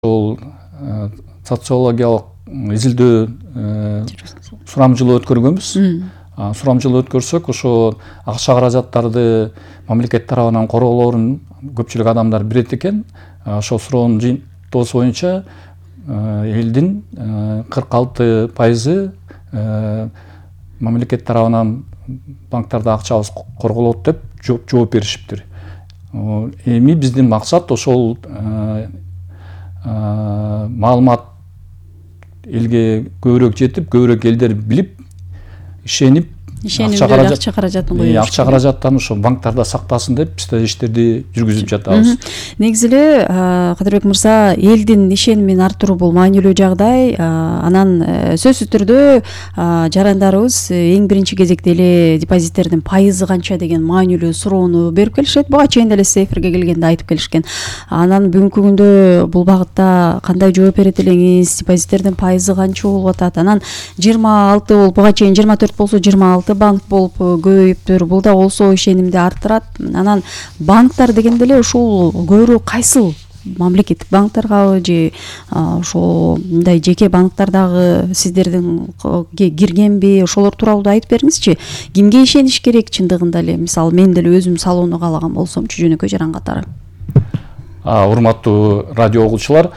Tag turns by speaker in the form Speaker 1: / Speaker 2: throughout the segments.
Speaker 1: ошол социологиялык изилдөө сурамжылоо өткөргөнбүз. Сурамжылоо өткөрсөк, ошо акча каражаттарды мамлекет тарабынан корголоорун көпчүлүк адамдар билет экен. Ошол суроонун жыйынтыгы боюнча элдин 46% мамлекет тарабынан банктарда акчабыз корголот деп жооп беришиптир. Эми биздин максат ошол маалымат элге көбүрөөк жетип, көбүрөөк элдер билип, ишенип
Speaker 2: акча каражатын коюш.
Speaker 1: Акча каражаттарын ошо банктарда сактасын деп биз да иштерди жүргүзүп жатабыз.
Speaker 2: Негизи эле Кадырбек мырза, элдин ишенимин арттыруу бул маанилүү жагдай. Анан сөзсүз түрдө жарандарыбыз эң биринчи кезекте эле депозиттердин пайызы канча деген маанилүү суроону берип келишет. Буга чейин деле сиз эфирге келгенде айтып келишкен. Анан бүгүнкү күндө бул багытта кандай жооп берет элеңиз? Депозиттердин пайызы канча болуп атат? Анан 26 болуп, буга чейин 24 болсо 26 банк болуп көбөйүптүр. Бул да болсо ишенимди арттырат. Анан банктар дегенде эле ушул көбүрөөк кайсыл? Мамлекеттик банктаргабы же ошо мындай жеке банктардагы сиздердин киргенби? Ошолор тууралуу да айтып бериңизчи. Кимге ишениш керек чындыгында эле? Мисалы, мен деле өзүм салууну каалаган болсомчу, жөнөкөй жаран катары.
Speaker 1: Урматтуу радио угуучулар,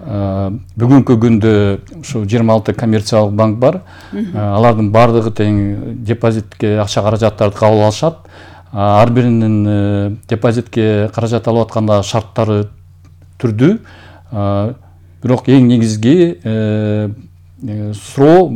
Speaker 1: бүгүнкү күндө ушу 26 коммерциялык банк бар. Алардын баардыгы тең депозитке акча каражаттарды кабыл алышат. Ар биринин депозитке каражат алып атканда шарттары түрдүү. Бирок эң негизги суроо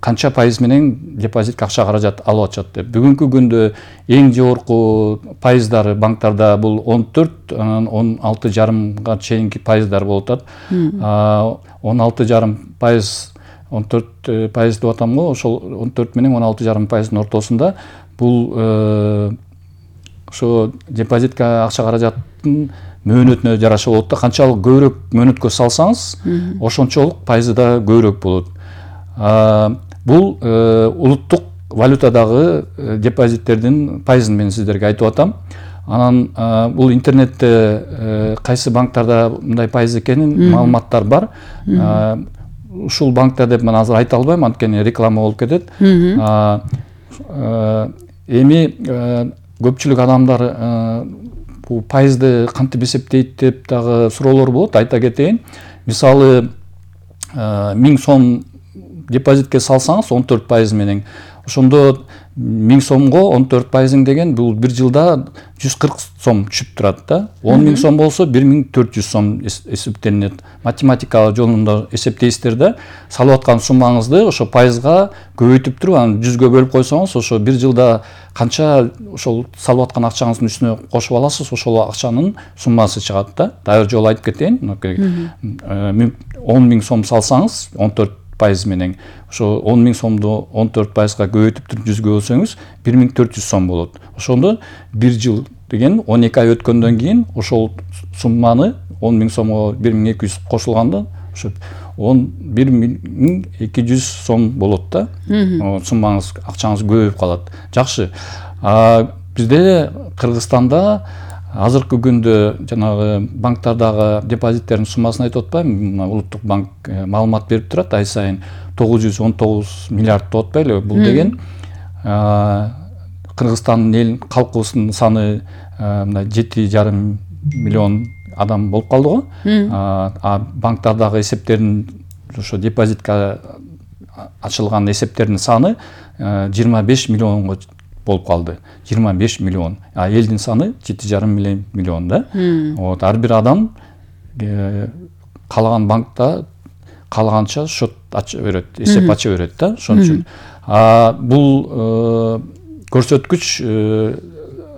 Speaker 1: канча пайыз менен депозитке акча каражат алып атышат деп. Бүгүнкү күндө эң жогорку пайыздары банктарда бул 14, анан 16,5 чейинки пайыздар болуп атат. 16,5%, 14% деп атам го, ошол 14 менен 16,5%дын ортосунда бул ошо депозитке акча каражаттын мөөнөтүнө жараша болот да. Канчалык көбүрөөк мөөнөткө салсаңыз, ошончолук пайызы да көбүрөөк болот. Бул улуттук валютадагы депозиттердин пайызын мен сиздерге айтып атам. Анан бул интернетте кайсы банктарда мындай пайыз экенин маалыматтар бар. Ушул банкта деп мен азыр айта албайм, анткени реклама болуп кетет. Эми көпчүлүк адамдар бул пайызды кантип эсептейт деп дагы суроолор болот. Айта кетейин. Мисалы, 1000 сом депозитке салсаңыз 14% менен, ошондо 1000 сомго 14% деген бул бир жылда 140 сом түшүп турат да. 10.000 сом болсо 1400 сом эсептелинет. Математика жолунда эсептейсиздер да, салып аткан суммаңызды ошо пайызга көбөйтүп туруп, анан 100гө бөлүп койсоңуз, ошо бир жылда канча ошол салып аткан акчаңыздын үстүнө кошуп аласыз, ошол акчанын суммасы чыгат да. Дагы жолу айтып кетейин. 10.000 сом салсаңыз 14% менен, ошо 10.000 сомду 14%га көбөйтүп туруп 100гө бөлсөңүз 1400 сом болот. Ошондо бир жыл деген 12 ай өткөндөн кийин ошол сумманы 10.000 сомго 1200 кошулганда ошо 1200 сом болот да. Суммаңыз, акчаңыз көбөйүп калат. Жакшы. Бизде Кыргызстанда азыркы күндө жанагы банктардагы депозиттердин суммасын айтып атпайм. Улуттук банк маалымат берип турат, ай сайын 919 миллиард деп атпайлы. Бул деген Кыргызстандын эл калкыбыздын саны 7,5 миллион адам болуп калды го. Банктардагы эсептердин, ошо депозитке ачылган эсептердин саны 25 миллионго болуп калды. 25 миллион. Элдин саны 7,5 миллион да. Вот, ар бир адам каалаган банкта каалаганча счет ача берет, эсеп ача берет да. Ошон үчүн бул көрсөткүч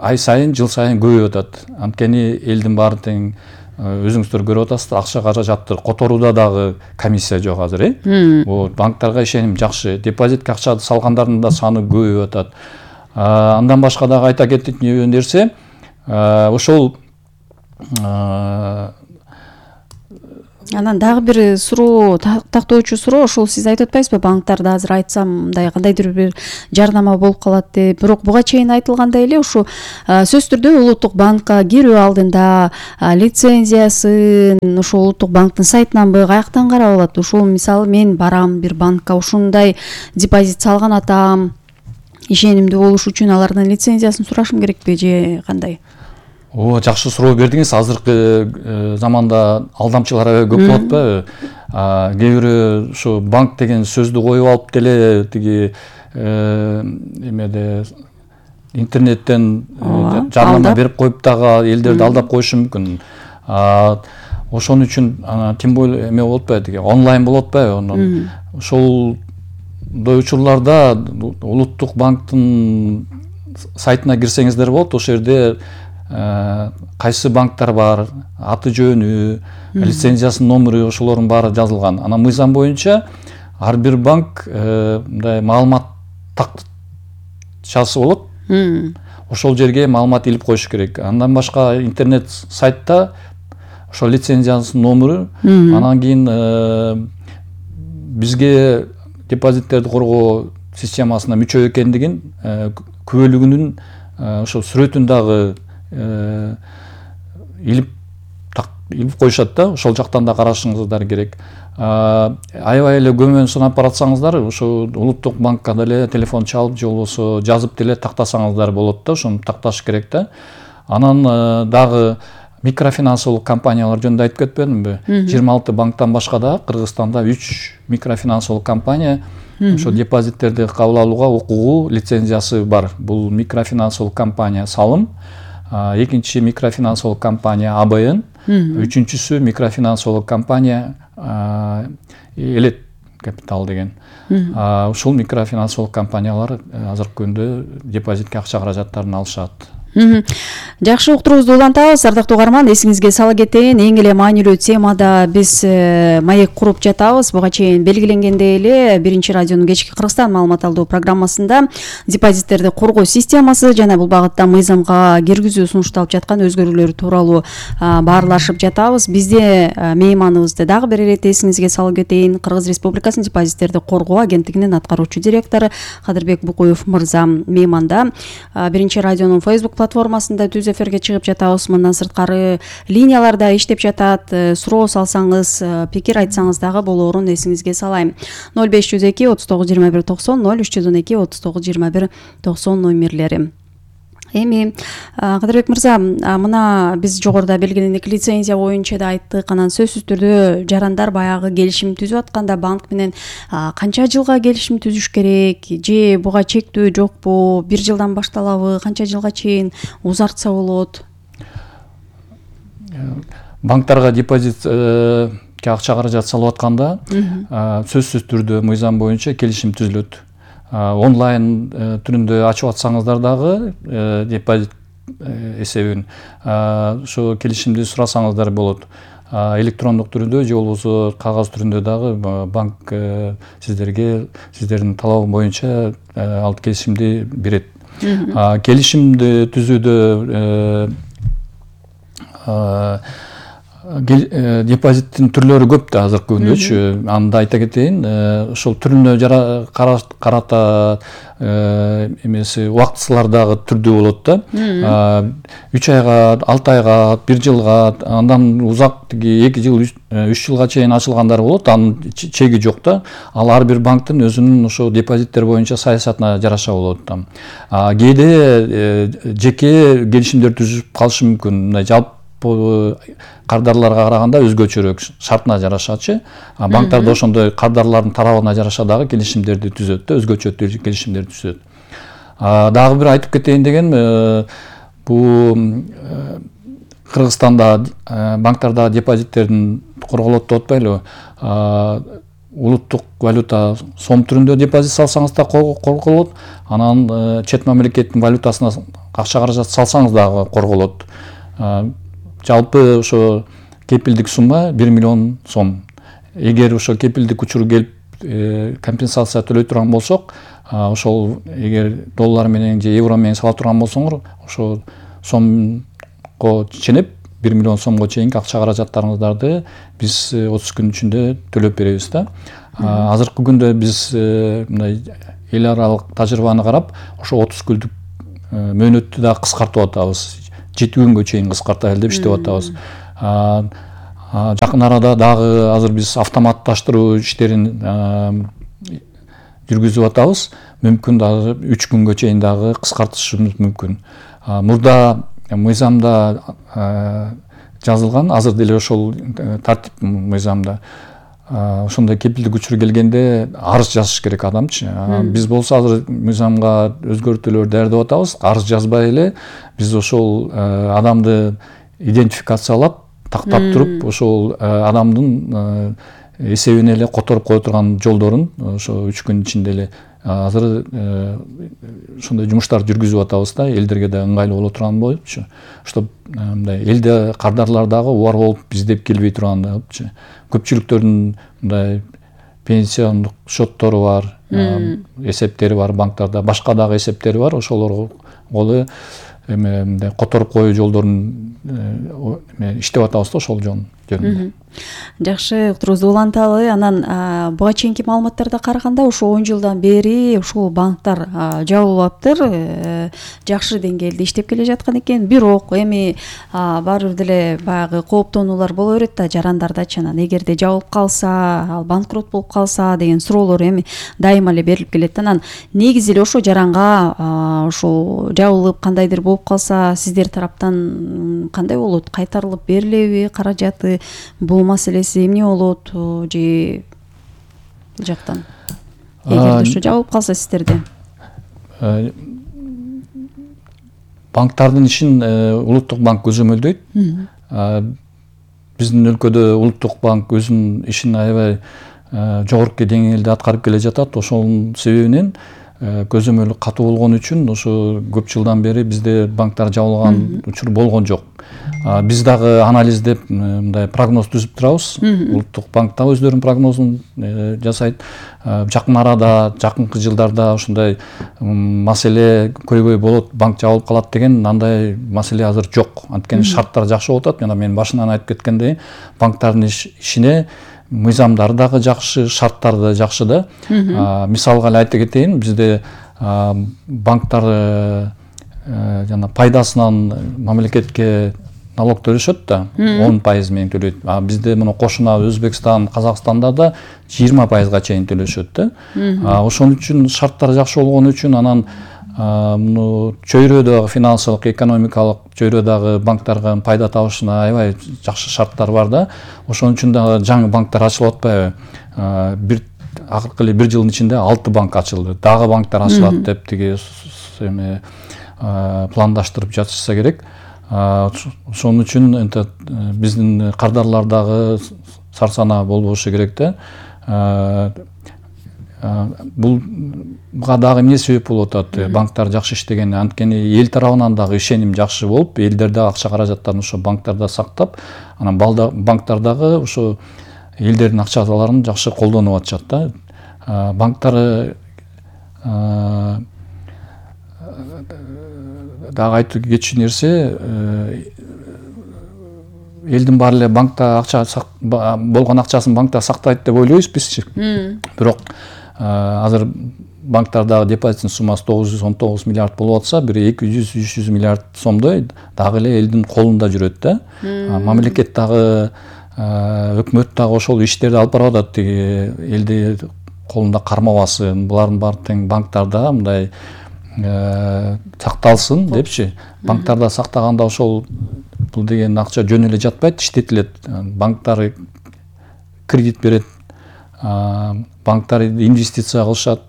Speaker 1: ай сайын, жыл сайын көбөйүп атат. Анткени элдин баары тең өзүңүздөр көрүп атасыздар, акча каражатты которууда дагы комиссия жок азыр, банктарга ишеним жакшы. Депозитке акча салгандардын да саны көбөйүп атат. Андан башка дагы айта кеткен нерсе, ошол
Speaker 2: Анан дагы бир суроо, тактоочу суроо, ошол сиз айтып атпайсызбы, банктарда азыр айтсам мындай кандайдыр бир жарнама болуп калат деп. Бирок буга чейин айтылгандай эле ушу сөзсүз түрдө улуттук банкка кирүү алдында лицензиясын ошол улуттук банктын сайтынанбы, каяктан карап алат? Ушул мисалы мен барам бир банкка, ушундай депозит салган атам, ишенимдүү болуш үчүн алардан лицензиясын сурашым керекпи же кандай?
Speaker 1: Жакшы суроо бердиңиз. Азыркы заманда алдамчылар аябай көп болот атпайбы? Кээ бирөө ушу банк деген сөздү коюп алып деле тиги эмеде интернеттен жарнама берип коюп дагы элдерди алдап коюшу мүмкүн. Ошон үчүн тем более эме болуп атпайбы, тиги онлайн болуп атпайбы? Ошолдой учурларда улуттук банктын сайтына кирсеңиздер болот. Ошол жерде кайсы банктар бар, аты жөнү, лицензиясынын номеру, ошолордун баары жазылган. Анан мыйзам боюнча ар бир банк мындай маалымат тактчасы болот. Ошол жерге маалымат илип коюш керек. Андан башка интернет сайтта ошол лицензиясынын номеру, анан кийин бизге депозиттерди коргоо системасына мүчө экендигин, күбөлүгүнүн ошол сүрөтүн дагы илип коюшат да, ошол жактан да карашыңыздар керек. Аябай эле көмөн сынап баратсаңыздар, ошо улуттук банкка деле телефон чалып же болбосо жазып деле тактасаңыздар болот да, ошону такташ керек да. Анан дагы микрофинансылык компаниялар жөнүндө айтып кетпедимби? 26 банктан башка да Кыргызстанда 3 микрофинансылык компания ошо депозиттерди кабыл алууга укугу, лицензиясы бар. Бул микрофинансылык компания Салым, экинчи микрофинансылык компания АБН, үчүнчүсү микрофинансылык компания Элет Капитал деген. Ушул микрофинансылык компаниялар азыркы күндө депозитке акча каражаттарын алышат.
Speaker 2: Жакшы, уктуруубузду улантабыз. Ардактуу угарман, эсиңизге сала кетейин, эң эле маанилүү темада биз маек куруп жатабыз. Буга чейин белгиленгендей эле Биринчи радионун кечки Кыргызстан маалымат алуу программасында депозиттерди коргоо системасы жана бул багытта мыйзамга киргизүү сунушталып жаткан өзгөрүүлөр тууралуу баарлашып жатабыз. Бизде мейманыбызды дагы бир ирет эсиңизге салып кетейин, Кыргыз Республикасынын депозиттерди коргоо агенттигинин аткаруучу директору Кадырбек Букуев мырза мейманда. Биринчи радионун Facebook платформасында түз эфирге чыгып жатабыз. Мындан сырткары линияларда иштеп жатат. Суроо салсаңыз, пикир айтсаңыз дагы болоорун эсиңизге салайм. 0502 39 21 90, 0312 39 21 90 номерлери. Эми Кадырбек мырза, мына биз жогоруда белгилендик лицензия боюнча да айттык. Анан сөзсүз түрдө жарандар баягы келишим түзүп атканда банк менен канча жылга келишим түзүш керек, же буга чектөө жокпу, 1 жылдан башталабы, канча жылга чейин узартса болот?
Speaker 1: Банктарга депозитке акча каражат салып атканда сөзсүз түрдө мыйзам боюнча келишим түзүлөт. Онлайн түрүндө ачып атсаңыздар дагы депозит эсебин ошо келишимди сурасаңыздар болот. Электрондук түрүндө же болбосо кагаз түрүндө дагы банк сиздерге сиздердин талабы боюнча ал келишимди берет. Келишимди түзүүдө депозиттин түрлөрү көп да азыркы күндөчү. Анда айта кетейин, ошол түрүнө карата эмеси убактысылар дагы түрдүү болот да. 3 айга, 6 айга, 1 жылга, андан узак 2 жыл, 3 жылга чейин ачылгандар болот. Анын чеги жок да. Ал ар бир банктын өзүнүн ошо депозиттер боюнча саясатына жараша болот да. Кээде жеке келишимдер түзүп калышы мүмкүн. Мындай жалпы кардарларга караганда өзгөчөрөөк шартына жарашачы. Банктарда ошондой кардарлардын тарабына жараша дагы келишимдерди түзөт да, өзгөчө келишимдерди түзөт. Дагы бир айтып кетейин дегеним, бул Кыргызстанда банктарда депозиттердин корголот деп атпайлыбы? Улуттук валюта сом түрүндө депозит салсаңыз да корголот, анан чет мамлекеттин валютасына акча каражат салсаңыз дагы корголот. Жалпы ошо кепилдик сумма 1 миллион сом. Эгер ошо кепилдик учуру келип компенсация төлөй турган болсок, ошол эгер доллар менен же евро менен сала турган болсоңор, ошо сомго ченеп 1 миллион сомго чейинки акча каражаттарыңыздарды биз 30 күн ичинде төлөп беребиз да. Азыркы күндө биз мындай эл аралык тажрыйбаны карап ошо 30 күндүк мөөнөттү да кыскартып атабыз. 7 күнгө чейин кыскартайлы деп иштеп атабыз. Жакын арада дагы азыр биз автоматташтыруу иштерин жүргүзүп атабыз. Мүмкүн дагы 3 күнгө чейин дагы кыскартышыбыз мүмкүн. Мурда мыйзамда жазылган, азыр деле ошол тартип мыйзамда ошондой кепилдик учур келгенде арыз жазыш керек адамчы. Биз болсо азыр мыйзамга өзгөртүүлөр даярдап атабыз. Арыз жазбай эле биз ошол адамды идентификациялап, тактап туруп, ошол адамдын эсебине эле которуп кое турган жолдорун ошо 3 күн ичинде эле азыр ошондой жумуштарды жүргүзүп атабыз да, элдерге да ыңгайлуу боло турган болупчу. Чтоб мындай элде кардарлар дагы убар болуп издеп келбей тургандыгычы. Көпчүлүктөрдүн мындай пенсиондук счеттору бар, эсептери бар банктарда, башка дагы эсептери бар, ошолорго мындай которуп коюу жолдорун иштеп атабыз да, ошол жөнүндө.
Speaker 2: Жакшы, уктуруубузду уланталы. Анан буга чейинки маалыматтарга караганда ошо 10 жылдан бери ушул банктар жабылыптыр, жакшы деңгээлде иштеп келе жаткан экен. Бирок эми баары бир деле баягы кооптонуулар боло берет да жарандардачы. Анан эгерде жабылып калса, ал банкрот болуп калса деген суроолор эми дайыма эле берилип келет. Анан негизи эле ошо жаранга ошо жабылып кандайдыр болуп калса, сиздер тараптан кандай болот? Кайтарылып берилеби каражаты? Бул маселеси эмне болот же бул жактан? Эгерде ошо жабылып калса сиздерде?
Speaker 1: Банктардын ишин Улуттук банк көзөмөлдөйт. Биздин өлкөдө Улуттук банк өзүнүн ишин аябай жогорку деңгээлде аткарып келе жатат. Ошонун себебинен көзөмөлү катуу болгон үчүн ошо көп жылдан бери бизде банктар жабылган учур болгон жок. Биз дагы анализдеп мындай прогноз түзүп турабыз. Улуттук банк да өздөрүнүн прогнозун жасайт. Жакын арада, жакынкы жылдарда ошондой маселе көйгөй болот, банк жабылып калат деген андай маселе азыр жок. Анткени шарттар жакшы болуп атат. Жана мен башынан айтып кеткендей, банктардын ишине мыйзамдары дагы жакшы, шарттары да жакшы да. Мисалга эле айта кетейин, бизде банктар жана пайдасынан мамлекетке налог төлөшөт да, 10% менен төлөйт. Бизде муну кошуна Өзбекстан, Казакстанда да 20%га чейин төлөшөт да. Ошон үчүн шарттар жакшы болгон үчүн анан муну чөйрөдөгү финансылык, экономикалык чөйрөдөгү банктарга пайда табышына аябай жакшы шарттар бар да. Ошон үчүн да жаңы банктар ачылып атпайбы? Акыркы эле 1 жылдын ичинде 6 банк ачылды. Дагы банктар ачылат деп тиги пландаштырып жатышса керек. Ошон үчүн биздин кардарлар дагы сарсанаа болбошу керек да. Буга дагы эмне себеп болуп атат? Банктар жакшы иштеген, анткени эл тарабынан дагы ишеним жакшы болуп, элдер дагы акча каражаттарын ошо банктарда сактап, анан банктар дагы ошо элдердин акчаларын жакшы колдонуп атышат да. Банктар дагы айтып кетчү нерсе, элдин баары эле банкта акча болгон акчасын банкта сактайт деп ойлойбуз бизчи. Бирок азыр банктардагы депозиттин суммасы 919 миллиард болуп атса, бир 200-300 миллиард сомдой дагы эле элдин колунда жүрөт да. Мамлекет дагы, өкмөт дагы ошол иштерди алып барып атат, элди колунда кармабасын, булардын баары тең банктарда мындай сакталсын депчи. Банктарда сактаганда ошол бул деген акча жөн эле жатпайт, иштетилет. Банктар кредит берет, банктар инвестиция кылышат,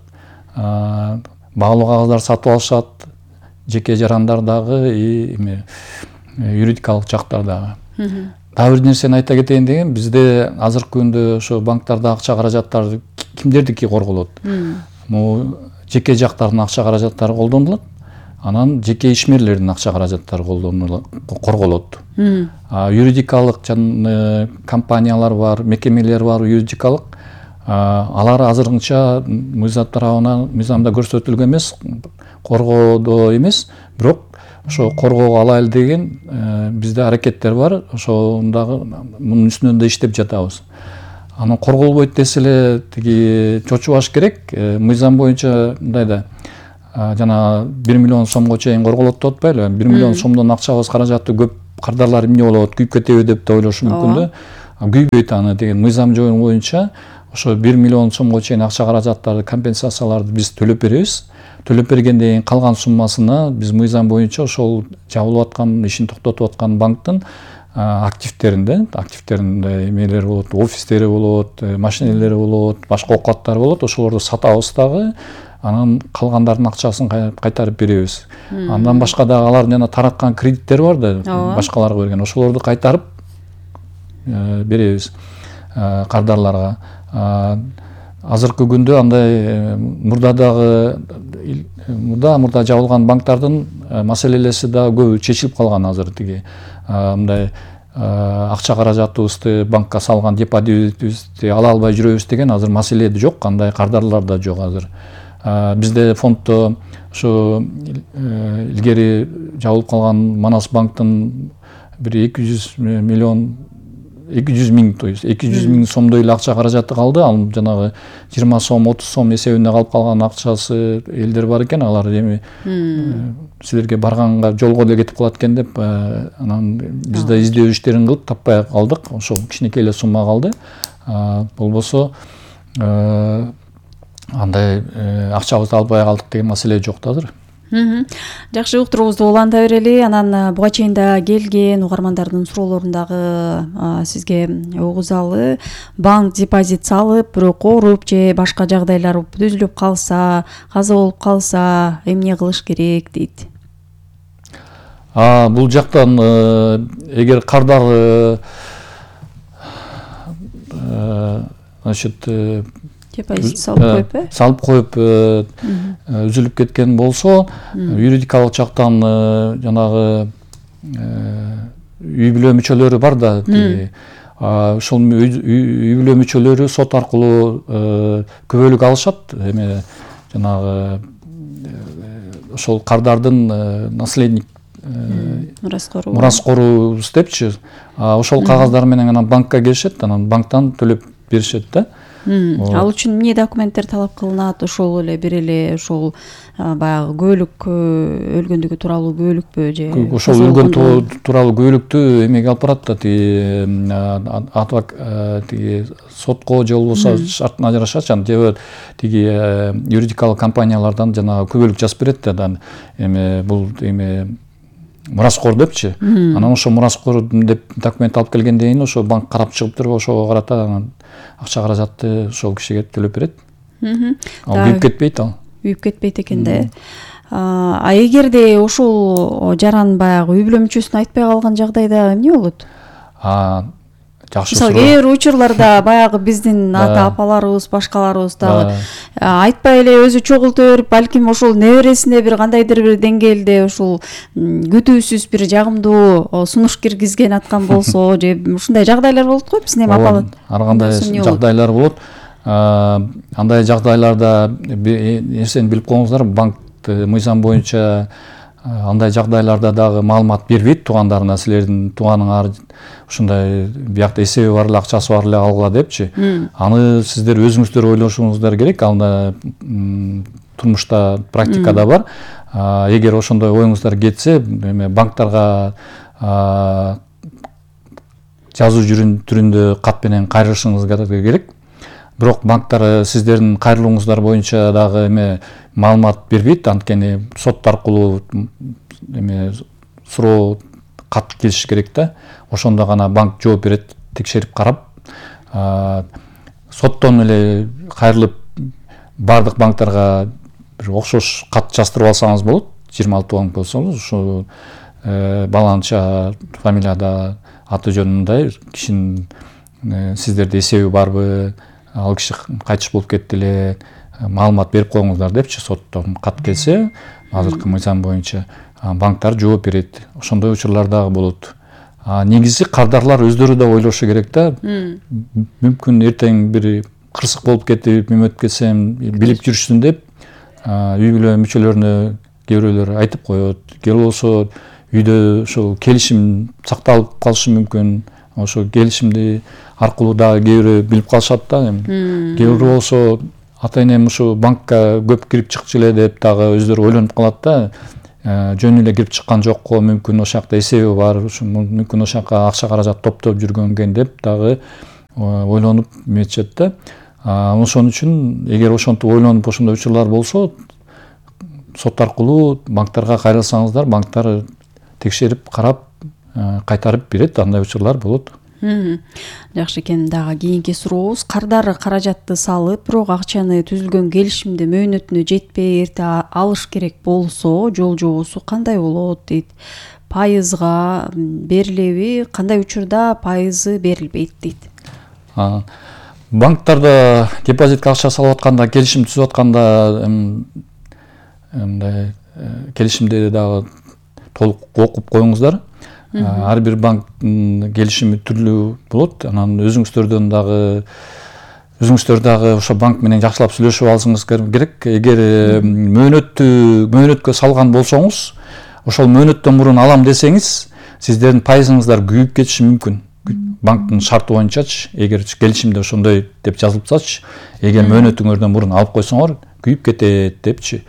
Speaker 1: баалуу кагаздар сатып алышат, жеке жарандар дагы, юридикалык жактар дагы. Дагы бир нерсени айта кетейин деген, бизде азыркы күндө ошо банктарда акча каражаттары кимдердики корголот? Могу жеке жактардын акча каражаттары колдонулат, анан жеке ишмерлердин акча каражаттары корголот. Юридикалык компаниялар бар, мекемелер бар, юридикалык. Алар азырынча мыйзам тарабынан мыйзамда көрсөтүлгөн эмес, коргоодо эмес, бирок ошо коргоого алайлы деген бизде аракеттер бар. Ошондагы мунун үстүнөн да иштеп жатабыз. Анан корголбойт десе эле тиги чочубаш керек. Мыйзам боюнча мындай да жана 1 миллион сомго чейин корголот деп атпайлы. 1 миллион сомдон акчабыз каражаты көп, кардарлар эмне болот, күйүп кетеби деп да ойлошу мүмкүн да. Күйбөйт аны деген мыйзам боюнча ошо 1 миллион сомго чейин акча каражаттарды, компенсацияларды биз төлөп беребиз. Төлөп бергенден кийин калган суммасына биз мыйзам боюнча ошол жабылып аткан, ишин токтотуп аткан банктын активтеринде эмелери болот, офистери болот, машинелери болот, башка оокаттары болот, ошолорду сатабыз дагы. Анан калгандардын акчасын кайтарып беребиз. Андан башка дагы алардын жана тараткан кредиттери бар да, башкаларга берген. Ошолорду кайтарып беребиз кардарларга. Азыркы күндө андай мурда жабылган банктардын маселелеси да көбү чечилип калган. Азыр тиги мындай акча каражатыбызды банкка салган депозитибизди ала албай жүрөбүз деген азыр маселе жок, андай кардарлар да жок азыр. Бизде фонддо ошо илгери жабылып калган Манас банктын бир 200 миң сомдой эле акча каражаты калды. Ал жанагы 20 сом, 30 сом эсебинде калып калган акчасы элдер бар экен. Алар эми силерге барганга жолго эле кетип калат экен деп, анан биз да издөө иштерин кылып таппай калдык. Ошол кичинекей эле сумма калды. Болбосо андай акчабызды албай калдык деген маселе жок да азыр.
Speaker 2: Жакшы, уктуруубузду уланта берели. Анан буга чейин да келген угармандардын суроолорун дагы сизге угузалы. Банк депозит салып, бирок ооруп же башка жагдайлар түзүлүп калса, каза болуп калса, эмне кылыш керек дейт.
Speaker 1: Бул жактан эгер кардар значит
Speaker 2: депозит салып
Speaker 1: коюп үзүлүп кеткен болсо, юридикалык жактан жанагы үй бүлө мүчөлөрү бар да, ошол үй бүлө мүчөлөрү сот аркылуу күбөлүк алышат. Эме жанагы ошол кардардын наследник мураскорубуз депчи, ошол кагаздар менен анан банкка келишет, анан банктан төлөп беришет да.
Speaker 2: Ал үчүн эмне документтер талап кылынат? Ошол эле бир эле ошол баягы күбөлүк өлгөндүгү тууралуу күбөлүкпү же
Speaker 1: ошол өлгөн тууралуу күбөлүктү эмеге алып барат да, тиги сотко же болбосо шартына жараша же тиги юридикалык компаниялардан жанагы күбөлүк жазып берет да, эме бул эме мураскор депчи. Анан ошо мураскор деп документ алып келгенден кийин ошо банк карап чыгып туруп ошого карата анан акча каражатты ошол кишиге төлөп берет. Ал күйүп кетпейт,
Speaker 2: күйүп кетпейт экен да. Эгерде ошол жаран баягы үй бүлө мүчөсүнө айтпай калган жагдайда эмне болот?
Speaker 1: Жакшы
Speaker 2: суроо. Кээ бир учурларда баягы биздин ата апаларыбыз, башкаларыбыз дагы айтпай эле өзү чогулта берип, балким ошол небересине бир кандайдыр бир деңгээлде ошол күтүүсүз бир жагымдуу сунуш киргизген аткан болсо, же ушундай жагдайлар болот го биздин апалар.
Speaker 1: Ар кандай жагдайлар болот. Андай жагдайларда нерсени билип коюңуздар, банк мыйзам боюнча андай жагдайларда дагы маалымат бербейт туугандарына, силердин тууганыңар ушундай биякта эсеби бар эле, акчасы бар эле алгыла депчи. Аны сиздер өзүңүздөр ойлошуңуздар керек. Анда турмушта, практикада бар. Эгер ошондой оюңуздар кетсе, эме банктарга жазуу түрүндө кат менен кайрылышыңыз керек. Бирок банктар сиздердин кайрылууңуздар боюнча дагы эме маалымат бербейт. Анткени сот аркылуу эме суроо кат келиш керек да. Ошондо гана банк жооп берет, текшерип карап. Соттон эле кайрылып бардык банктарга бир окшош кат жаздырып алсаңыз болот. 26 банк болсоңуз, ушу баланча фамилияда аты жөнүндай кишинин сиздерде эсеби барбы, ал киши кайтыш болуп кетти эле, маалымат берип коюңуздар депчи. Соттон кат келсе, азыркы мыйзам боюнча банктар жооп берет. Ошондой учурлар дагы болот. Негизи кардарлар өздөрү да ойлошу керек да. Мүмкүн эртең бир кырсык болуп кетип, эме өтүп кетсем билип жүрүшсүн деп үй бүлө мүчөлөрүнө кээ бирөөлөр айтып коет, же болбосо үйдө ошол келишим сакталып калышы мүмкүн. Ошо келишимди аркылуу дагы кээ бирөө билип калышат да. Кээ бирөө болсо ата энем ушу банкка көп кирип чыкчу эле деп дагы өздөрү ойлонуп калат да. Жөн эле кирип чыккан жокко, мүмкүн ошол жакта эсеби бар, мүмкүн ошол жака акча каражат топтоп жүргөн экен деп дагы ойлонуп эметишет да. Ошон үчүн эгер ошентип ойлонуп ошондой учурлар болсо, сот аркылуу банктарга кайрылсаңыздар, банктар текшерип карап кайтарып берет, андай учурлар болот.
Speaker 2: Жакшы экен. Дагы кийинки сурообуз, кардар каражатты салып, бирок акчаны түзүлгөн келишимде мөөнөтүнө жетпей эрте алыш керек болсо, жол жобосу кандай болот дейт. Пайызга берилеби, кандай учурда пайызы берилбейт дейт.
Speaker 1: Банктарда депозитке акча салып атканда, келишим түзүп атканда мындай келишимди дагы толук окуп коюңуздар. Ар бир банктын келишими түрлүү болот. Анан өзүңүздөр дагы ошо банк менен жакшылап сүйлөшүп алышыңыз керек. Эгер мөөнөткө салган болсоңуз, ошол мөөнөттөн мурун алам десеңиз, сиздердин пайызыңыздар күйүп кетиши мүмкүн. Банктын шарты боюнчачы, эгер келишимде ошондой деп жазылыпсачы, эгер мөөнөтүңөрдөн мурун алып койсоңор, күйүп кетет депчи.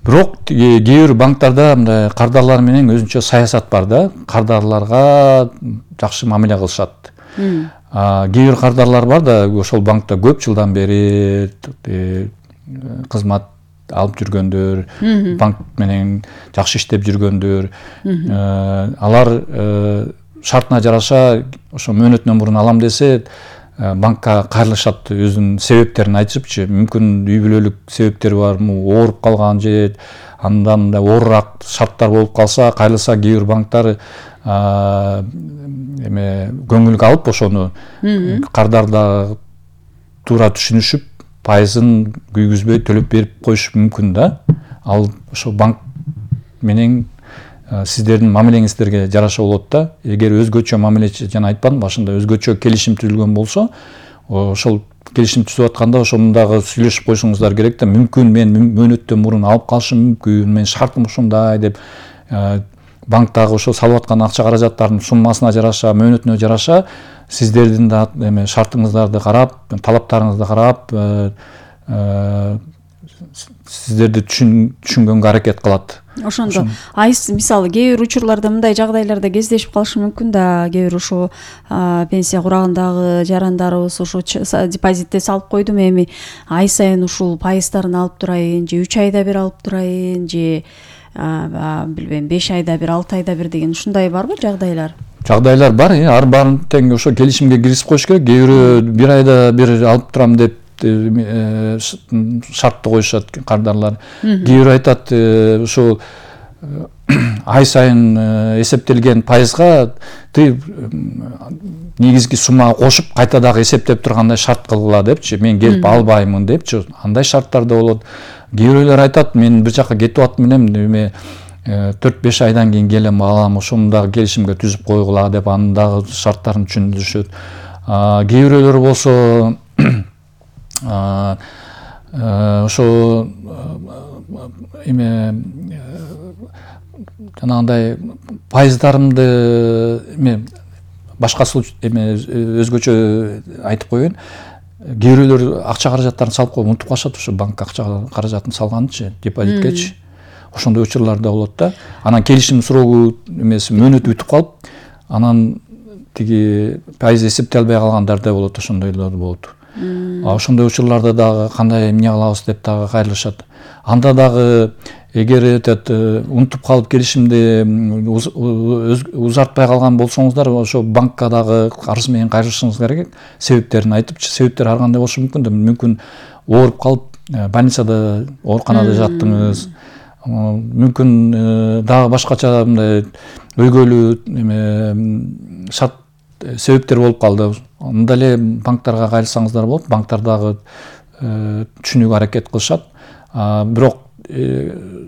Speaker 1: Бирок кээ бир банктарда мындай кардарлар менен өзүнчө саясат бар да. Кардарларга жакшы мамиле кылышат. Кээ бир кардарлар бар да, ошол банкта көп жылдан бери кызмат алып жүргөндөр, банк менен жакшы иштеп жүргөндөр, алар шартына жараша ошо мөөнөтүнөн мурун алам десе, банкка кайрылышат, өзүнүн себептерин айтышыпчы. Мүмкүн үй бүлөлүк себептери бар, ооруп калган же андан да оорураак шарттар болуп калса, кайрылса кээ бир банктар көңүлгө алып ошону кардарда туура түшүнүшүп, пайызын күйгүзбөй төлөп берип коюшу мүмкүн да. Ал ошо банк менен сиздердин мамилеңиздерге жараша болот да. Эгер өзгөчө мамиле, жана айтканмын башында, өзгөчө келишим түзүлгөн болсо, ошол келишим түзүп атканда ошондагы сүйлөшүп коюшуңуздар керек да. Мүмкүн мен мөөнөттөн мурун алып калышым мүмкүн, мен шартым ушундай деп, банктагы ошо салып аткан акча каражаттардын суммасына жараша, мөөнөтүнө жараша сиздердин да шартыңыздарды карап, талаптарыңызды карап, сиздерди түшүнгөнгө аракет кылат.
Speaker 2: Ошондо мисалы кээ бир учурларда мындай жагдайларда кездешип калышы мүмкүн да. Кээ бир ошо пенсия курагындагы жарандарыбыз ошо депозитте салып койдум, эми ай сайын ушул пайыздарын алып турайын, же 3 айда бир алып турайын, же билбейм 5 айда бир, 6 айда бир деген ушундай барбы жагдайлар? Жагдайлар
Speaker 1: бар, ар баарын тең ошо келишимге киргизип коюш керек. Кээ бирөө 1 айда бир алып турам деп шартты коюшат кардарлар. Кээ бирөө айтат, ошо ай сайын эсептелген пайызга ты негизги суммага кошуп кайта дагы эсептеп тургандай шарт кылгыла депчи, мен келип албаймын депчи. Андай шарттар да болот. Кээ бирөөлөр айтат, мен бир жака кетип атам элем, 4-5 айдан кийин келем алам, ошону дагы келишимге түзүп койгула деп, анын дагы шарттарын түшүндүрүшөт. Кээ бирөөлөр болсо ошо жанагындай пайыздарымды башка өзгөчө айтып коеюн. Кээ бирөөлөр акча каражаттарын салып коюп унутуп калышат, ошо банкка акча каражатын салганычы, депозиткечи. Ошондой учурлар да болот да. Анан келишим суроого мөөнөтү бүтүп калып, анан тиги пайыз эсептей албай калгандар да болот, ошондойлор болот. Ошондой учурларда дагы кандай эмне кылабыз деп дагы кайрылышат. Анда дагы эгер унутуп калып келишимди узартпай калган болсоңуздар, ошо банкка дагы арыз менен кайрылышыңыз керек. Себептерин айтыпчы, себептер ар кандай болушу мүмкүн да. Мүмкүн ооруп калып больницада, ооруканада жаттыңыз. Мүмкүн дагы башкача мындай өйгөлүү шарт себептер болуп калды. Анда эле банктарга кайрылсаңыздар болот. Банктар дагы түшүнүүгө аракет кылышат. Бирок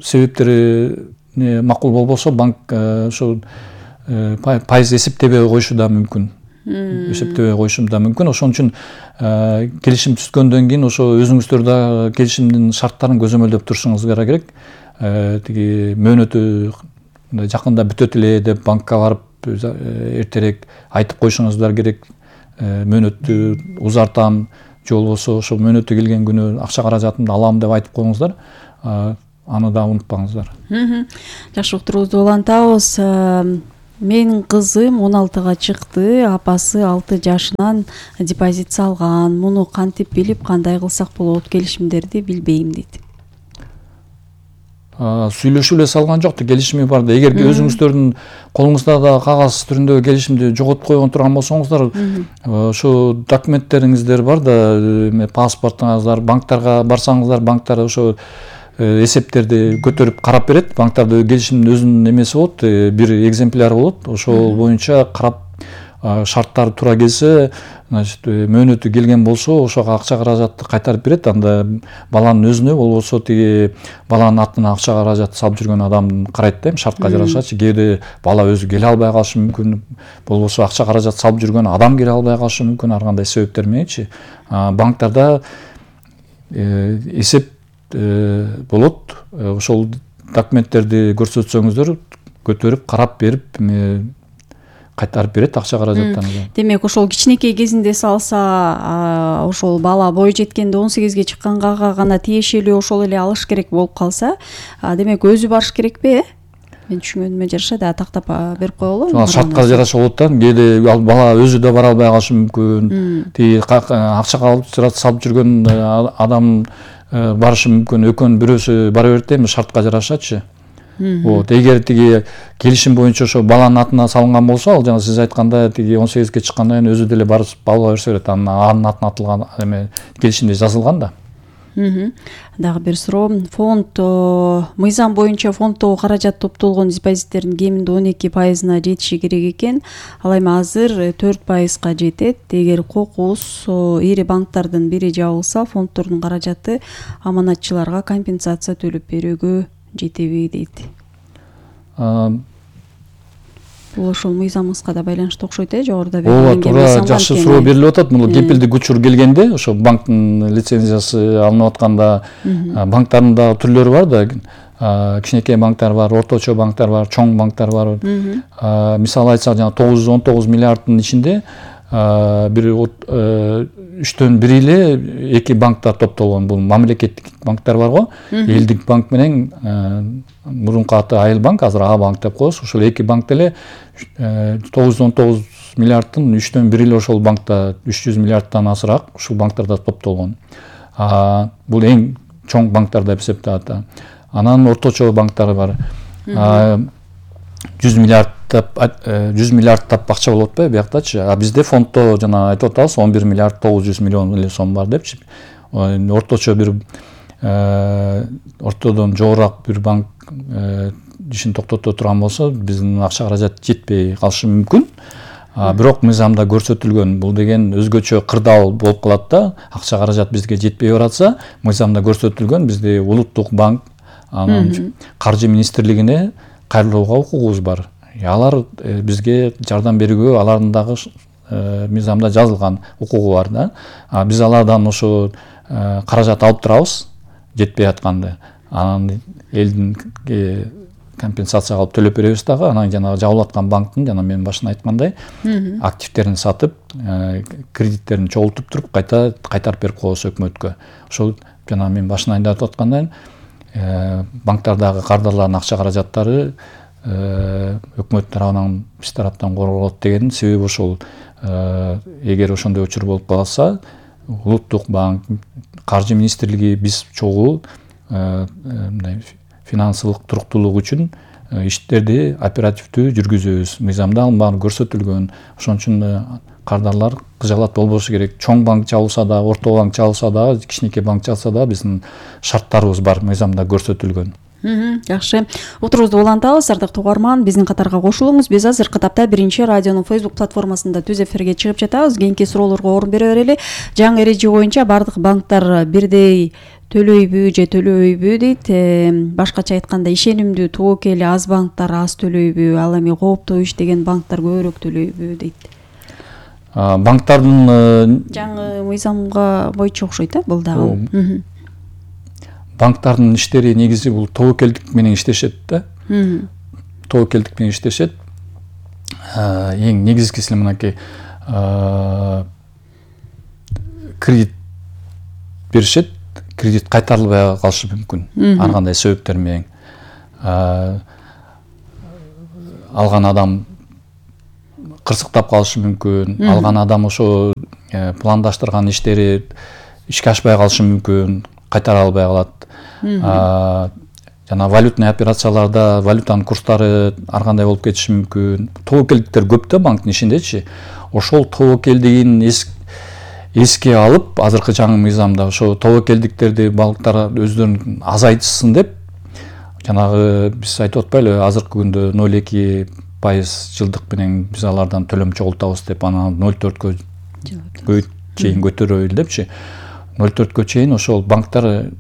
Speaker 1: себептери макул болбосо, банк ошо пайыз эсептебей коюшу да мүмкүн. Эсептебей коюшу да мүмкүн. Ошон үчүн келишим түзгөндөн кийин ошо өзүңүздөр да келишимдин шарттарын көзөмөлдөп турушуңуз керек. тиги мөөнөтү жакында бүтөт эле деп банкка барып эртерээк айтып коюшуңуздар керек. Мөөнөттү узартам же болбосо ошол мөөнөтү келген күнү акча каражатымды алам деп айтып коюңуздар. Аны да унутпаңыздар.
Speaker 2: Жакшы, уктуруубузду улантабыз. Менин кызым 16-га чыкты, апасы 6 жашынан депозит салган. Муну кантип билип, кандай кылсак болот, келишимдерди билбейм дейт.
Speaker 1: Сүйлөшүп эле салган жокты, келишими бар да. Эгерде өзүңүздөрдүн колуңузда да кагаз түрүндөгү келишимди жоготуп койгон турган болсоңуздар, ошо документтериңиздер бар да, паспортуңуздар, банктарга барсаңыздар, банктар ошо эсептерди көтөрүп карап берет. Банктарда келишимдин өзүнүн эмеси болот, бир экземпляр болот. Ошол боюнча карап, шарттары туура келсе, значит, мөөнөтү келген болсо, ошого акча каражатты кайтарып берет. Анда баланын өзүнө болбосо тиги баланын атына акча каражат салып жүргөн адам карайт да, шартка жарашачы. Кээде бала өзү келе албай калышы мүмкүн, болбосо акча каражат салып жүргөн адам келе албай калышы мүмкүн, ар кандай себептер мененчи. Банктарда эсеп болот. Ошол документтерди көрсөтсөңүздөр, көтөрүп карап берип кайтарып берет акча каражаттарыңызды.
Speaker 2: Демек, ошол кичинекей кезинде салса, ошол бала бой жеткенде 18ге чыкканга гана тиешелүү ошол эле алыш керек болуп калса, демек өзү барыш керекпи? Мен түшүнгөнүмө жараша да тактап берип коелу.
Speaker 1: Шартка жараша болот да. Кээде бала өзү да бара албай калышы мүмкүн. Тиги акча салып жүргөн адам барышы мүмкүн, экөөнүн бирөөсү бара берет эми шартка жарашачы. Вот, эгер тиги келишим боюнча ошо баланын атына салынган болсо, ал жана сиз айткандай тиги 18ге чыккандан кийин өзү деле барып ала берсе берет. Анын атына атылган эме келишимде жазылган да.
Speaker 2: Дагы бир суроо. Фонд мыйзам боюнча фонддогу каражат топтолгон депозиттердин кеминде 12%-на жетиши керек экен. Ал эми азыр 4%-га жетет. Эгер кокус ири банктардын бири жабылса, фонддордун каражаты аманатчыларга компенсация төлөп берүүгө жетеби дейт. Бул ошол мыйзамыбызга да байланыштуу окшойт, жогоруда
Speaker 1: белгиленген. Туура, жакшы суроо берилип атат. Муну кепилдик учур келгенде, ошо банктын лицензиясы алынып атканда, банктардын да түрлөрү бар да. Кичинекей банктар бар, орточо банктар бар, чоң банктар бар. Мисалы айтсак, жана 919 миллиарддын ичинде бир 3/1 эле эки банктар топтолгон. Бул мамлекеттик банктар бар го. Элдик банк менен мурунку аты Айыл банк, азыр А банк деп коебуз. Ошол эки банк деле 919 миллиарддын 3/1 эле ошол банкта, 300 миллиарддан азыраак ушул банктарда топтолгон. Бул эң чоң банктар деп эсептелет. Анан орточо банктар бар. 100 миллиарддап акча болуп атпайбы бияктачы. Бизде фонддо жана айтып атабыз 11 миллиард 900 миллион эле сом бар депчи. Орточо бир ортодон жогораак бир банк ишин токтото турган болсо, биздин акча каражат жетпей калышы мүмкүн. Бирок мыйзамда көрсөтүлгөн, бул деген өзгөчө кырдаал болуп калат да. Акча каражат бизге жетпей баратса, мыйзамда көрсөтүлгөн, бизде улуттук банк, анан каржы министрлигине кайрылууга укугубуз бар. Алар бизге жардам берүүгө алардын дагы мыйзамда жазылган укугу бар да. Биз алардан ошо каражат алып турабыз жетпей атканда. Анан элдин компенсация алып төлөп беребиз дагы. Анан жана жабылып аткан банктын, жана мен башында айткандай, активтерин сатып, кредиттерин чогултуп туруп кайтарып берип коебуз өкмөткө. Ошол жана мен башында айтып аткандай, банктардагы кардарлардын акча каражаттары өкмөт тарабынан, биз тараптан корголот деген себеби ошол. Эгер ошондой учур болуп калса, улуттук банк, каржы министрлиги биз чогуу финансылык туруктуулук үчүн иштерди оперативдүү жүргүзөбүз. Мыйзамда ал баары көрсөтүлгөн. Ошон үчүн кардарлар кыжалат болбошу керек. Чоң банк жабылса да, орто банк жабылса да, кичинекей банк жабылса да, биздин шарттарыбыз бар, мыйзамда көрсөтүлгөн.
Speaker 2: Жакшы. Отурубузду улантабыз, ардактуу угарман, биздин катарга кошулуңуз. Биз азыркы тапта биринчи радионун Facebook платформасында түз эфирге чыгып жатабыз. Кийинки суроолорго орун бере берели. Жаңы эреже боюнча бардык банктар бирдей төлөйбү же төлөбөйбү дейт. Башкача айтканда, ишенимдүү тобокели аз банктар аз төлөйбү, ал эми кооптуу иштеген банктар көбүрөөк төлөйбү дейт.
Speaker 1: Банктардын
Speaker 2: жаңы мыйзамга боюнча окшойт, бул дагы.
Speaker 1: банктардын иштери негизи бул тобокелдик менен иштешет да. Тобокелдик менен иштешет. Эң негизгиси мынакей кредит беришет, кредит кайтарылбай калышы мүмкүн ар кандай себептер менен. Алган адам кырсыктап калышы мүмкүн, алган адам ошо пландаштырган иштери ишке ашпай калышы мүмкүн, кайтара албай калат. Жана валютный операцияларда валютанын курстары ар кандай болуп кетиши мүмкүн. Тобокелдиктер көп да банктын ишиндечи. Ошол тобокелдигин эске алып, азыркы жаңы мыйзамда ошо тобокелдиктерди банктар өздөрүн азайтышсын деп, жанагы биз айтып атпайлы, азыркы күндө 0,2% жылдык менен биз алардан төлөм чогултабыз деп, анан 0,4 чейин көтөрөбүл депчи. 0,4 чейин ошол банктар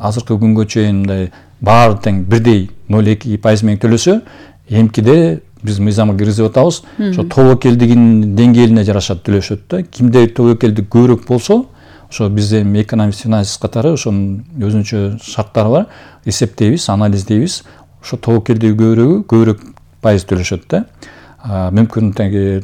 Speaker 1: азыркы күнгө чейин мындай баары тең бирдей 0,2% менен төлөсө, эмкиде биз мыйзамга киргизип атабыз. Ошо тобокелдигин деңгээлине жараша төлөшөт да. Кимде тобокелдик көбүрөөк болсо, ошо биз эми экономист финансист катары ошонун өзүнчө шарттары бар. Эсептейбиз, анализдейбиз. Ошо тобокелдиги көбүрөөк пайыз төлөшөт да. Мүмкүн теги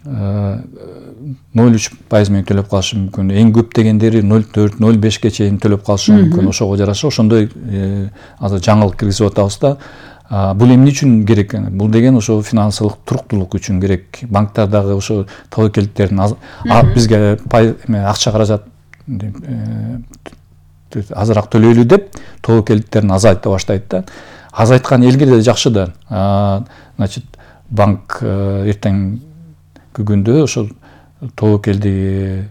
Speaker 1: 0,3% менен төлөп калышы мүмкүн. Эң көп дегендери 0,4, 0,5 чейин төлөп калышы мүмкүн. Ошого жараша ошондой азыр жаңылык киргизип атабыз да. Бул эмне үчүн керек? Бул деген ошо финансылык туруктуулук үчүн керек. Банктардагы ошо тобокелдиктердин бизге акча каражат азыраак төлөйлү деп тобокелдиктерин азайта баштайт да. Азайткан элге да жакшы да. Значит, банк эртең күндө ошо тобокелдиги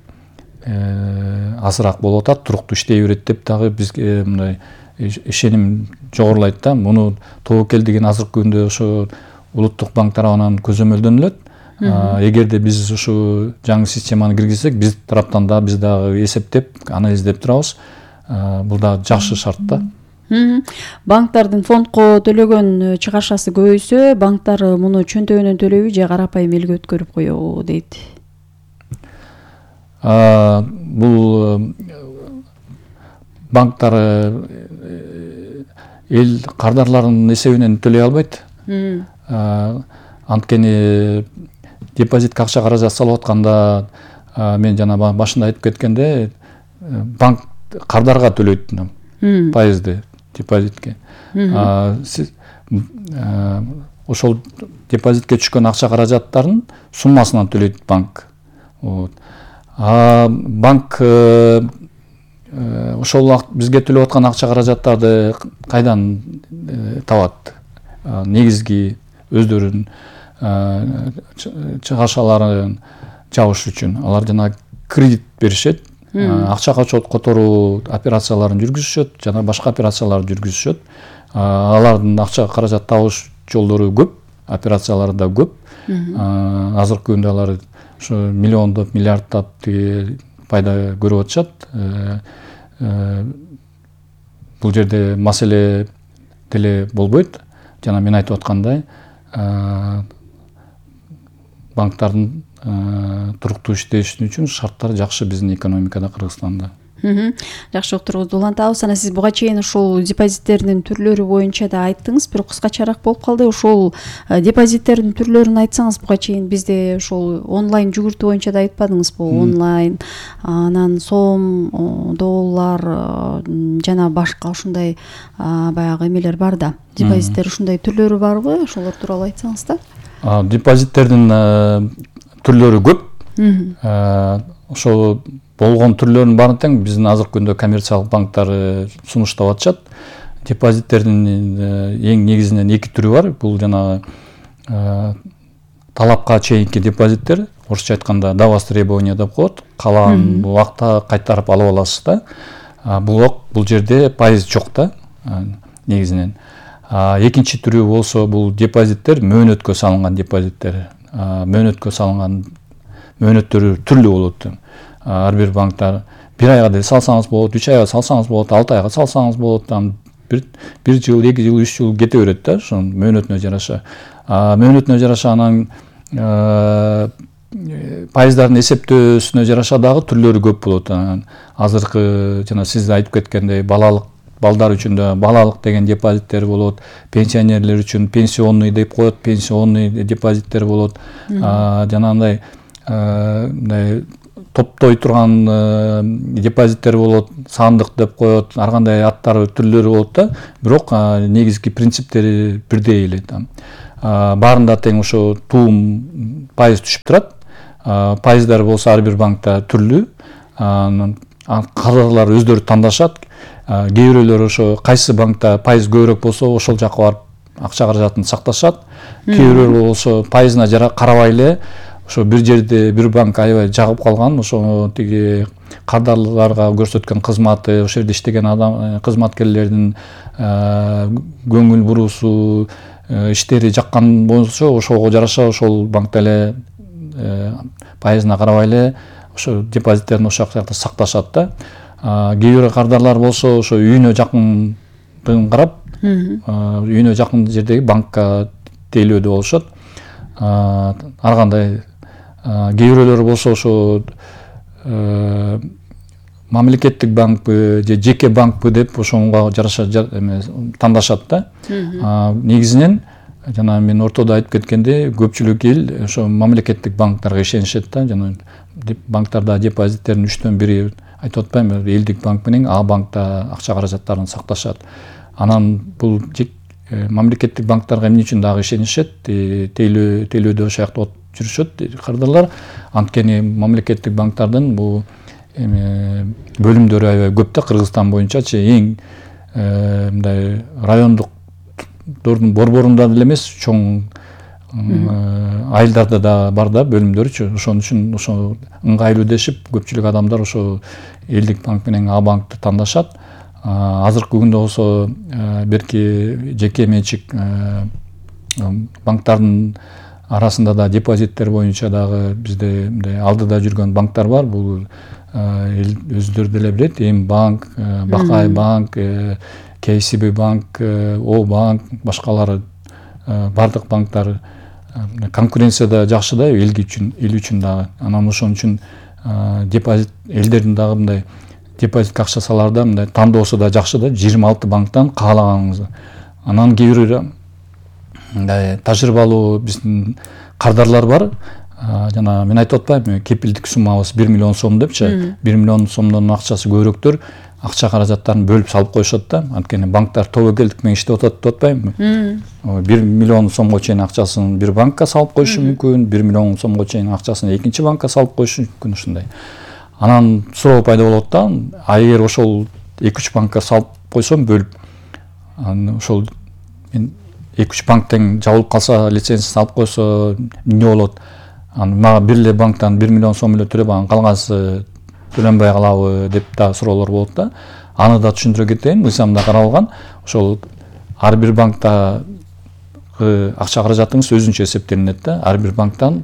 Speaker 1: азыраак болуп атат, туруктуу иштей берет деп дагы бизге мындай ишеним жогорулайт да. Муну тобокелдигин азыркы күндө ошо улуттук банк тарабынан көзөмөлдөнүлөт. Эгерде биз ушу жаңы системаны киргизсек, биз тараптан да биз дагы эсептеп, анализдеп турабыз. Бул да жакшы шарт да.
Speaker 2: Банктардын фондко төлөгөн чыгарчасы көбөйсө, банктар муну чөнтөгүнөн төлөйбү же карапайым элге өткөрүп коебу дейт.
Speaker 1: Бул банктар эл кардарларынын эсебинен төлөй албайт. Анткени депозитке акча каражат салып атканда, мен жана башында айтып кеткенде, банк кардарга төлөйт пайызды депозитке. Ошол депозитке түшкөн акча каражаттарын суммасынан төлөйт банк. Банк ошол бизге төлөп аткан акча каражаттарды кайдан табат? Негизги өздөрүнүн чыгашаларын жабыш үчүн алар жана кредит беришет. Акча которуу операцияларын жүргүзүшөт, жана башка операцияларды жүргүзүшөт. Алардын акча каражат табыш жолдору көп, операциялары да көп. Азыркы күндө алар ошо миллиондоп, миллиарддап пайда көрүп атышат. Бул жерде маселе деле болбойт. Жана мен айтып аткандай, банктардын туруктуу иштеши үчүн шарттар жакшы биздин экономикада, Кыргызстанда.
Speaker 2: Жакшы уктурубузду улантабыз. Анан сиз буга чейин ушул депозиттердин түрлөрү боюнча да айттыңыз, бирок кыскачараак болуп калды. Ушул депозиттердин түрлөрүн айтсаңыз, буга чейин бизде ушул онлайн жүгүртүү боюнча да айтпадыңызбы? Онлайн, анан сом, доллар жана башка ушундай баягы эмелер бар да. Депозиттер ушундай түрлөрү барбы? Ошолор тууралуу айтсаңыз да.
Speaker 1: Депозиттердин түрлөрү көп. Ошо болгон түрлөрүнүн баарын тең биздин азыркы күндө коммерциялык банктар сунуштап атышат. Депозиттердин эң негизинен эки түрү бар. Бул жана талапка чейинки депозиттер, орусча айтканда до востребования деп коет. Каалаган убакта кайтарып алып аласыз да. Бул жерде пайыз жок да негизинен. Экинчи түрү болсо бул депозиттер мөөнөткө салынган депозиттер. Мөөнөткө салынган мөөнөттөрү түрлүү болот. Ар бир банктар 1 айга деле салсаңыз болот, 3 айга салсаңыз болот, 6 айга салсаңыз болот, там 1 жыл, 2 жыл, 3 жыл кете берет да, ошонун мөөнөтүнө жараша. Мөөнөтүнө жараша анан пайыздардын эсептөөсүнө жараша дагы түрлөрү көп болот. Азыркы жана сиз айтып кеткендей балдар үчүн да балалык деген депозиттер болот, пенсионерлер үчүн пенсионный деп коет, пенсионный депозиттер болот. Жанагындай мындай топтой турган депозиттер болот, сандык деп коет, ар кандай аттары түрлөрү болот да, бирок негизги принциптери бирдей эле. Баарында тең ошо туум пайыз түшүп турат. Пайыздар болсо ар бир банкта түрлүү. Кадрлар өздөрү тандашат. Кээ бирөөлөр ошо кайсы банкта пайыз көбүрөөк болсо ошол жака барып акча каражатын сакташат. Кээ бирөөлөр болсо пайызына карабай эле ошо бир жерде бир банк аябай жагып калган, ошо тиги кардарларга көрсөткөн кызматы, ошол жерде иштеген адам кызматкерлердин көңүл буруусу, иштери жаккан болсо ошого жараша ошол банкта эле пайызына карабай эле ошо депозиттерин ошол жакта сакташат да. Кээ бир кардарлар болсо ошо үйүнө жакындыгын карап, үйүнө жакын жердеги банкка тейлөөдө болушат. Ар кандай кээ бирөөлөр болсо ошо мамлекеттик банкпы же жеке банкпы деп ошого жараша тандашат да. Негизинен жана мен ортодо айтып кеткендей, көпчүлүк эл ошо мамлекеттик банктарга ишенишет да. Жана банктарда депозиттердин 1/3 айтып атпаймынбы, элдик банк менен А банкта акча каражаттарын сакташат. Анан бул мамлекеттик банктарга эмне үчүн дагы ишенишет, тейлөөдө ошол жакта жүрүшөт кардарлар. Анткени мамлекеттик банктардын бул бөлүмдөрү аябай көп да, Кыргызстан боюнчачы эң мындай райондуктардын борборунда деле эмес, чоң айылдарда да бар да бөлүмдөрүчү. Ошон үчүн ошо ыңгайлуу дешип көпчүлүк адамдар ошо элдик банк менен А банкты тандашат. Азыркы күндө болсо берки жеке менчик банктардын арасында да депозиттер боюнча дагы бизде мындай алдыда жүргөн банктар бар. Бул өздөрү деле билет, Эм банк, Бакай банк, КСБ банк, О банк, башкалары бардык банктар конкуренцияда жакшы да, эл үчүн дагы. Анан ошон үчүн депозит элдердин дагы мындай депозитке акча саларда мындай тандоосу да жакшы да, 26 банктан каалаганыңызды. Анан кээ бир мындай тажрыйбалуу биздин кардарлар бар. Жана мен айтып атпаймынбы, кепилдик суммабыз 1 миллион сом депчи. 1 миллион сомдон акчасы көбүрөөктөр акча каражаттарын бөлүп салып коюшат да. Анткени банктар тобокелдик менен иштеп атат деп атпаймынбы? 1 миллион сомго чейин акчасын бир банкка салып коюшу мүмкүн, 1 миллион сомго чейин акчасын экинчи банкка салып коюшу мүмкүн ушундай. Анан суроо пайда болот да. Эгер ошол 2-3 банкка салып койсом бөлүп, ошол мен 2-3 банктен жабылып калса, лицензия салып койсо эмне болот? Мага бир эле банктан 1 миллион сом эле төлөп, анан калгансы төлөнбөй калабы деп да суроолор болот да. Аны да түшүндүрө кетейин, мыйзамда каралган. Ошол ар бир банкта акча каражатыңыз өзүнчө эсептелинет да. Ар бир банктан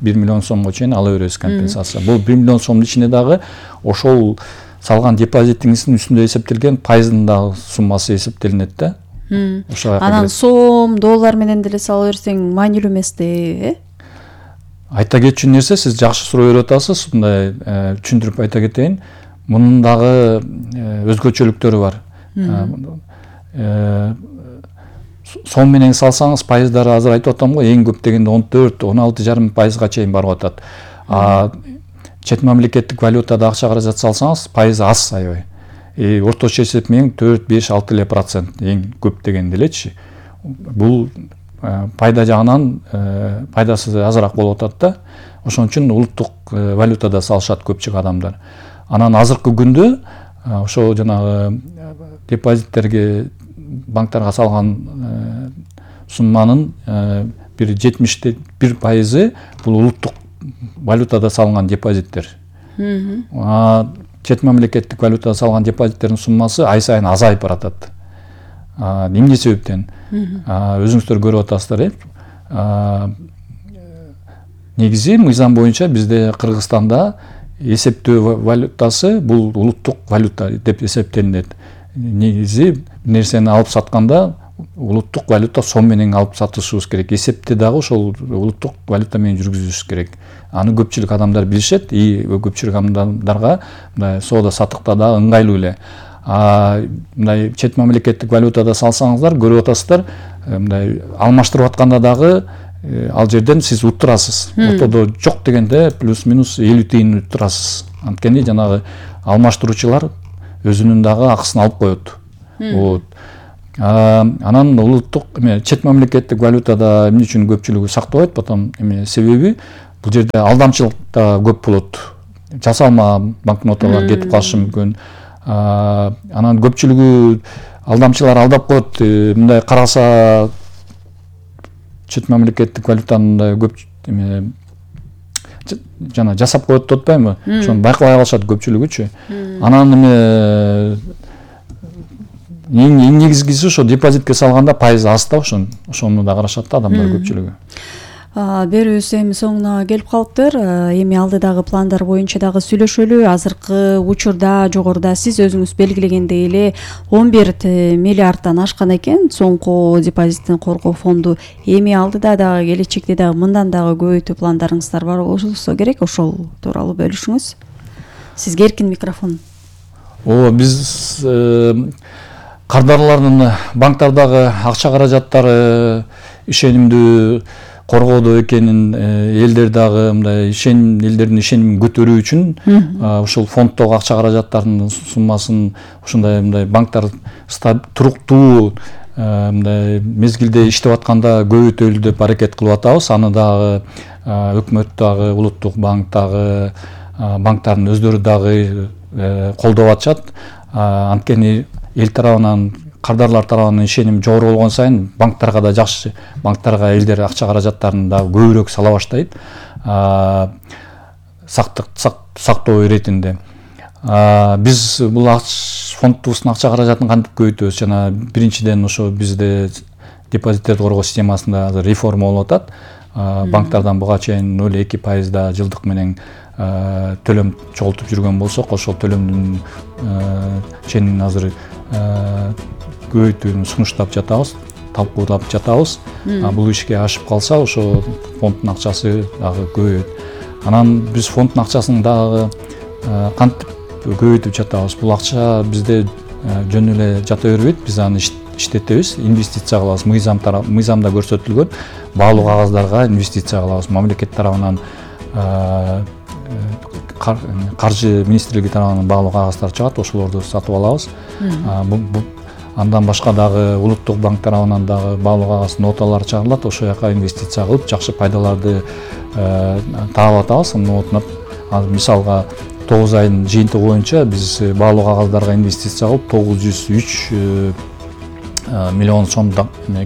Speaker 1: 1 миллион сомго чейин ала беребиз компенсация. Бул 1 миллион сомдун ичинде дагы ошол салган депозитиңиздин үстүндө эсептелген пайыздын дагы суммасы эсептелинет да.
Speaker 2: Анан сом, доллар менен деле сала берсең маанилүү эмес да,
Speaker 1: Айта кетчү нерсе, сиз жакшы суроо берип атасыз. Мындай түшүндүрүп айта кетейин. Мунун дагы өзгөчөлүктөрү бар. Сом менен салсаңыз пайыздары азыр айтып атам го, эң көп дегенде 14-16,5% чейин барып атат. Чет мамлекеттик валютада акча каражат салсаңыз пайызы аз аябай. Орточо эсеп менен 4-5-6% эң көп дегенде элечи. Бул пайда жагынан пайдасы азыраак болуп атат да. Ошон үчүн улуттук валютада салышат көпчүлүк адамдар. Анан азыркы күндө ошо жанагы депозиттерге банктарга салган сумманын бир 71% бул улуттук валютада салынган депозиттер. Чет мамлекеттик валютада салган депозиттердин суммасы ай сайын азайып баратат. Эмне себептен? Өзүңүздөр көрүп атасыздар, негизи мыйзам боюнча бизде Кыргызстанда эсептөө валютасы бул улуттук валюта деп эсептелинет. Негизи нерсени алып сатканда улуттук валюта сом менен алып сатышыбыз керек. Эсепти дагы ошол улуттук валюта менен жүргүзүшүбүз керек. Аны көпчүлүк адамдар билишет, и көпчүлүк адамдарга мындай соода саттыкта дагы ыңгайлуу эле. Мындай чет мамлекеттик валютада салсаңыздар, көрүп атасыздар, мындай алмаштырып атканда дагы ал жерден сиз уттурасыз. Ортодо жок дегенде плюс-минус 50 тыйын уттурасыз. Анткени жанагы алмаштыруучулар өзүнүн дагы акысын алып коет. Вот. Анан улуттук чет мамлекеттик валютада эмне үчүн көпчүлүгү сактабайт, потом себеби бул жерде алдамчылык да көп болот. Жасалма банкноталар кетип калышы мүмкүн. Анан көпчүлүгү алдамчылар алдап коет, мындай караса чет мамлекеттик валютаны көп жана жасап коет деп атпаймынбы? Ошону байкабай калышат көпчүлүгүчү. Анан эң негизгиси ошо депозитке салганда пайызы аз да, ошону да карашат да адамдар көпчүлүгү.
Speaker 2: Берүүбүз эми соңуна келип калыптыр. Эми алдыдагы пландар боюнча дагы сүйлөшөлү. Азыркы учурда жогоруда сиз өзүңүз белгилегендей эле 11 миллиардтан ашкан экен соңку депозиттин коргоо фонду. Эми алдыда дагы келечекте дагы мындан дагы көбөйтүү пландарыңыздар бар болсо керек, ошол тууралуу бөлүшүңүз. Сизге эркин микрофон.
Speaker 1: Биз кардарлардын банктардагы акча каражаттары ишенимдүү коргоодо экенин, элдер дагы мындай элдердин ишенимин көтөрүү үчүн ушул фонддогу акча каражаттарынын суммасын ушундай банктар туруктуу мындай мезгилде иштеп атканда көбөйтөлү деп аракет кылып атабыз. Аны дагы өкмөт дагы, улуттук банк дагы, банктардын өздөрү дагы колдоп атышат. Анткени эл тарабынан, кардарлар тарабынан ишеним жогору болгон сайын банктарга да жакшы, банктарга элдер акча каражаттарын дагы көбүрөөк сала баштайт. Сактоо иретинде. Биз бул фондубуздун акча каражатын кантип көбөйтөбүз? Жана биринчиден ошо бизде депозиттерди коргоо системасында азыр реформа болуп атат. Банктардан буга чейин 0,2% жылдык менен төлөм чогултуп жүргөн болсок, ошол төлөмдүн ченин азыр көбөйтүүнү сунуштап жатабыз, талкуулап жатабыз. Бул ишке ашып калса, ошо фонддун акчасы дагы көбөйөт. Анан биз фонддун акчасын дагы кантип көбөйтүп жатабыз? Бул акча бизде жөн эле жата бербейт, биз аны иштетебиз, инвестиция кылабыз. Мыйзамда көрсөтүлгөн баалуу кагаздарга инвестиция кылабыз. Мамлекет тарабынан каржы министрлиги тарабынан баалуу кагаздар чыгат, ошолорду сатып алабыз. Андан башка дагы улуттук банк тарабынан дагы баалуу кагаз ноталар чыгарылат, ошол жака инвестиция кылып жакшы пайдаларды таап атабыз. Мисалга 9 айдын жыйынтыгы боюнча биз баалуу кагаздарга инвестиция кылып 903 миллион сом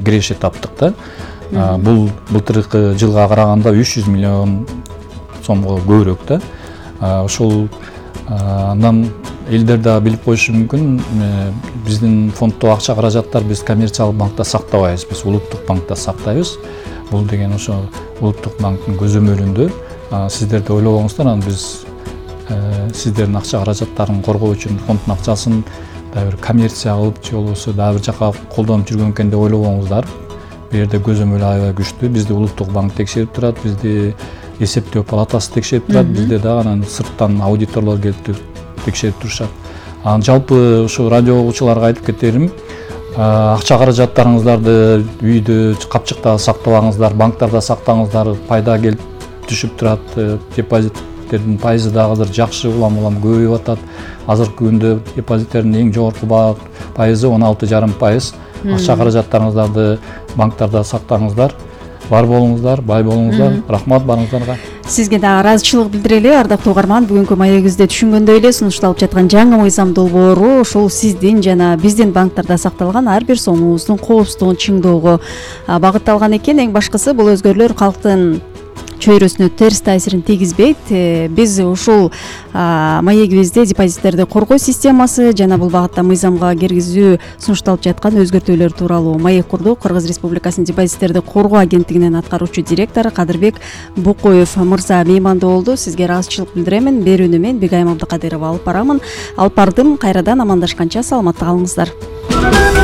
Speaker 1: киреше таптык да. Бул былтыркы жылга караганда 300 миллион сомго көбүрөөк да. Ошол андан элдер да билип коюшу мүмкүн, биздин фонддо акча каражаттар биз коммерциялык банкта сактабайбыз, биз улуттук банкта сактайбыз. Бул деген ошо улуттук банктын көзөмөлүндө. Сиздер да ойлобоңуздар, анан биз сиздердин акча каражаттарын коргоо үчүн фонддун акчасын дагы бир коммерция кылып же болбосо дагы бир жака колдонуп жүргөн экен деп ойлобоңуздар. Бул жерде көзөмөл аябай күчтүү. Бизди улуттук банк текшерип турат, бизди эсептөө палатасы текшерип турат, бизде дагы анан сырттан аудиторлор келип текшерип турушат. Анан жалпы ушу радио угуучуларга айтып кетерим, акча каражаттарыңыздарды үйдө, капчыкта сактабаңыздар, банктарда сактаңыздар, пайда келип түшүп турат, депозиттердин пайызы дагы азыр жакшы улам көбөйүп атат. Азыркы күндө депозиттердин эң жогорку пайызы 16,5%. Акча каражаттарыңыздарды банктарда сактаңыздар. Бар болуңуздар, бай болуңуздар. Рахмат барыңыздарга.
Speaker 2: Сизге дагы ыраазычылык билдирели, ардактуу угарман. Бүгүнкү маегибизде түшүнгөндөй эле сунушталып жаткан жаңы мыйзам долбоору ушул сиздин жана биздин банктарда сакталган ар бир сомуңуздун коопсуздугун чыңдоого багытталган экен. Эң башкысы бул өзгөрүүлөр калктын чөйрөсүнө терс таасирин тийгизбейт. Биз ушул маегибизде депозиттерди коргоо системасы жана бул багытта мыйзамга киргизүү сунушталып жаткан өзгөртүүлөр тууралуу маек курдук. Кыргыз Республикасынын депозиттерди коргоо агенттигинин аткаруучу директору Кадырбек Букоев мырза меймандуу болду. Сизге ыраазычылык билдирем. Берүүнү мен Бегайым Абдыкадырова алып бардым. Кайрадан амандашканча саламатта калыңыздар.